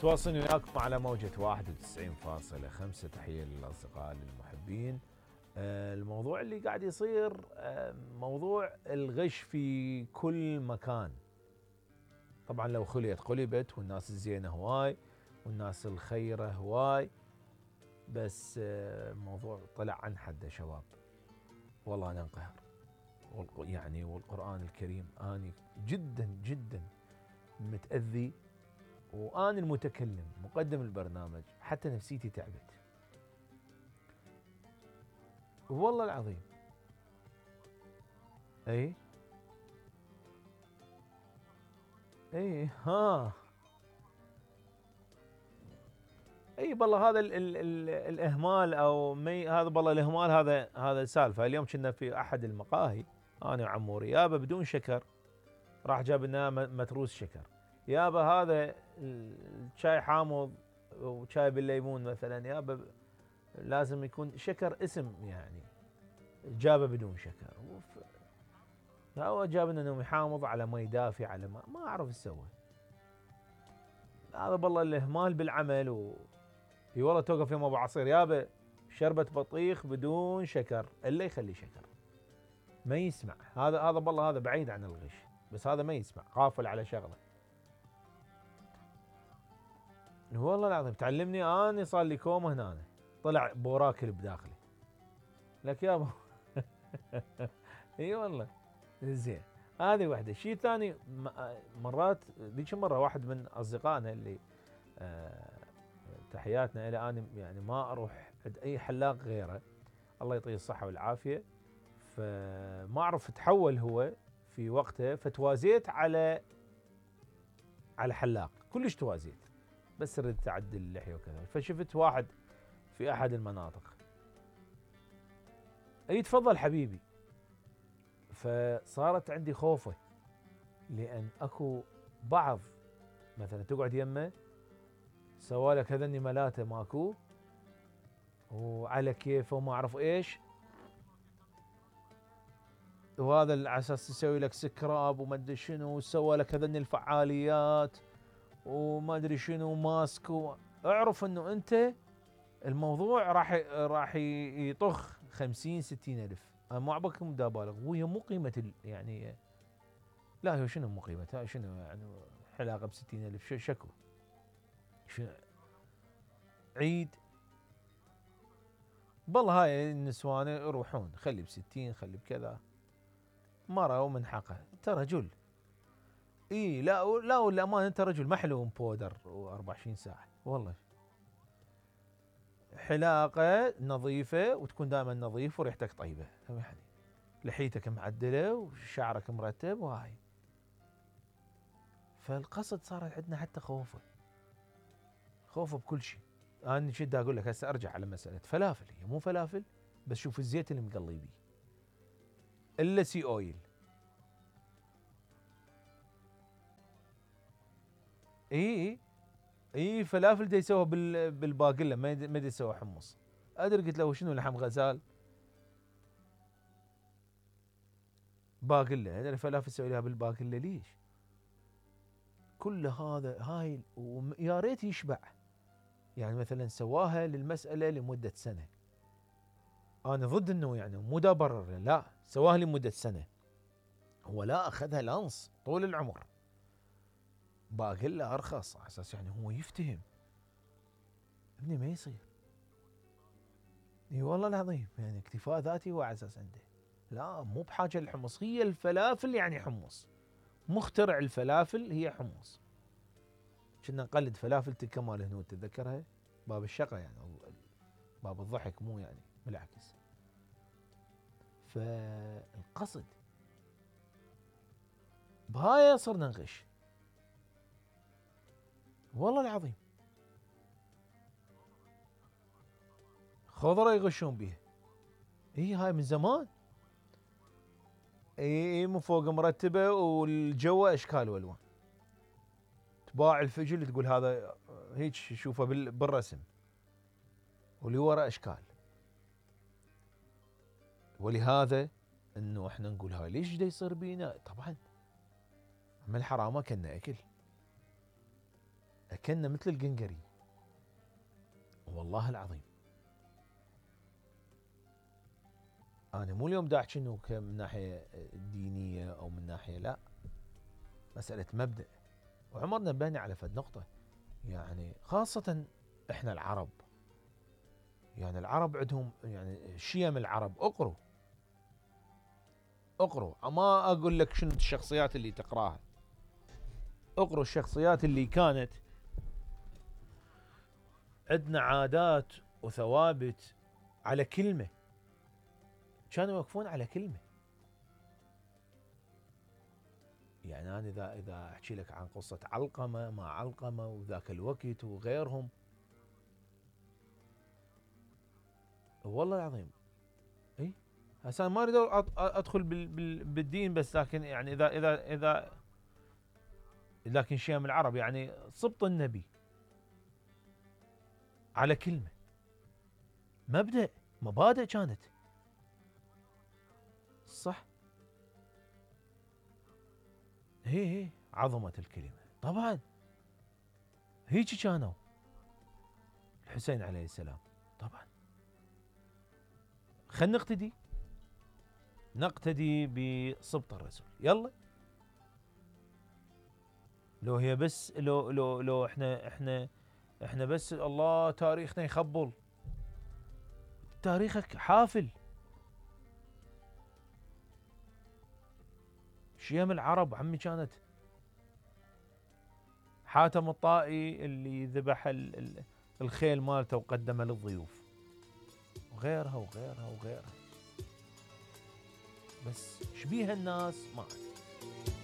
متواصلين وياكم على موجة 91.5. تحية للأصدقاء للمحبين. الموضوع اللي قاعد يصير موضوع الغش في كل مكان. طبعا لو خليت قلبت، والناس الزينة هواي والناس الخيرة هواي، بس الموضوع طلع عن حده شباب. والله أنا انقهر، يعني والقرآن الكريم أنا جدا جدا متأذي، وأنا المتكلم مقدم البرنامج حتى نفسيتي تعبت والله العظيم. اي ها اي بالله هذا ال الاهمال او هذا بالله الاهمال، هذا سالفه. اليوم كنا في احد المقاهي انا وعموري، يابا بدون شكر راح جاب لنا متروس شكر. يابا هذا الشاي حامض وشاي بالليمون مثلا، يابا لازم يكون شكر اسم، يعني جابه بدون شكر. هو جاب لنا نومي حامض على مي دافي على ما اعرف ايش سوى. هذا بالله الاهمال بالعمل. اي والله توقف يوم ابو عصير، يابا شربة بطيخ بدون شكر، الا يخلي شكر ما يسمع. هذا بالله هذا بعيد عن الغش، بس هذا ما يسمع، غافل على شغله. والله العظيم تعلمني اني صار لي كوم هنا، طلع بوراكل بداخلي لك يابا. اي والله زين. هذه واحده. شيء ثاني، مرات ذيك مره واحد من اصدقائنا اللي تحياتنا الى، اني يعني ما اروح عند اي حلاق غيره، الله يعطيه الصحه والعافيه. فما اعرف تحول هو في وقته، فتوازيت على حلاق كلش توازيت، بس ردت اعدل اللحيه وكذا. فشفت واحد في احد المناطق، اي تفضل حبيبي. فصارت عندي خوفه، لان اكو بعض مثلا تقعد يمه سوالك هذني ملاته ماكو وعلى كيفه وما اعرف ايش، وهذا على اساس يسوي لك سكراب وما ادري شنو، وسوى لك هذني الفعاليات وما ادري شنو ماسك اعرف انه انت الموضوع راح يطخ 50 60 الف. انا ما عبكم دا بالغ، وهي مو قيمه يعني لا، هو شنو مو قيمتها؟ شنو يعني حلاقه ب 60 الف؟ شكو شنو عيد؟ بالله هاي النسوان يروحون خلي ب60 خلي بكذا، مرة ومن حقه انت رجل. اي لا والامانه انت رجل محلو بودر و24 ساعه والله. حلاقه نظيفه وتكون دائما نظيف وريحتك طيبه، يعني لحيتك معدله وشعرك مرتب وهاي. فالقصد صار عندنا حتى خوفه بكل شيء. انا شد اقول لك هسه ارجع على مساله فلافل، هي مو فلافل بس شوف الزيت اللي مقلي بيه الا سي اويل. اي فلافل دا يسووها بالباقله، ما دا يسووها حمص. ادري قلت له شنو لحم غزال باقله، ادري فلافل تسوي لها بالباقله ليش؟ كل هذا هاي ويا ريت يشبع. يعني مثلا سواها للمساله لمده سنه، انا ضد انه يعني مو دا برر، لا سواها لمده سنه، هو لا اخذها لانص طول العمر. باقله ارخص على اساس يعني هو يفتهم. ابني ما يصير. اي والله العظيم، يعني اكتفاء ذاتي هو على اساس عنده، لا مو بحاجه للحمص. هي الفلافل يعني حمص، مخترع الفلافل هي حمص. كنا نقلد فلافل تلك مال هنود، تتذكرها؟ باب الشقه يعني، باب الضحك، مو يعني بالعكس. فالقصد بهاي صرنا نغش والله العظيم. خضره يغشون بيها، هاي من زمان. من فوق مرتبه والجو اشكال والوان. تباع الفجل تقول هذا هيك شوفه بالرسم، واللي ورا اشكال. ولهذا انه احنا نقول هاي ليش دا يصير بينا؟ طبعا من الحرامه كنا اكل كنا مثل القنقري والله العظيم. انا مو اليوم دا احكي انه من ناحيه دينيه او من ناحيه، لا، مساله مبدا. وعمرنا نبهنا على فد نقطه، يعني خاصه احنا العرب، يعني العرب عندهم يعني شيم العرب. اقروا، ما اقول لك شنو الشخصيات اللي تقراها، اقروا الشخصيات اللي كانت عندنا عادات وثوابت على كلمه، كانوا يوقفون على كلمه. يعني انا اذا احكي لك عن قصه علقمه مع علقمه وذاك الوقت وغيرهم، والله العظيم. اي هسه ما اريد ادخل بالدين، بس لكن يعني اذا لكن شيم العرب يعني سبط النبي على كلمه، مبادئ كانت صح. هي عظمه الكلمه طبعا. هيك كانوا الحسين عليه السلام طبعا. خلينا نقتدي بسبط الرسول. يلا، لو هي بس لو احنا بس الله تاريخنا يخبل. تاريخك حافل. شيم العرب عمي كانت حاتم الطائي اللي ذبح الخيل مالته وقدمه للضيوف، وغيرها وغيرها وغيرها. بس شبيها الناس ما أدري.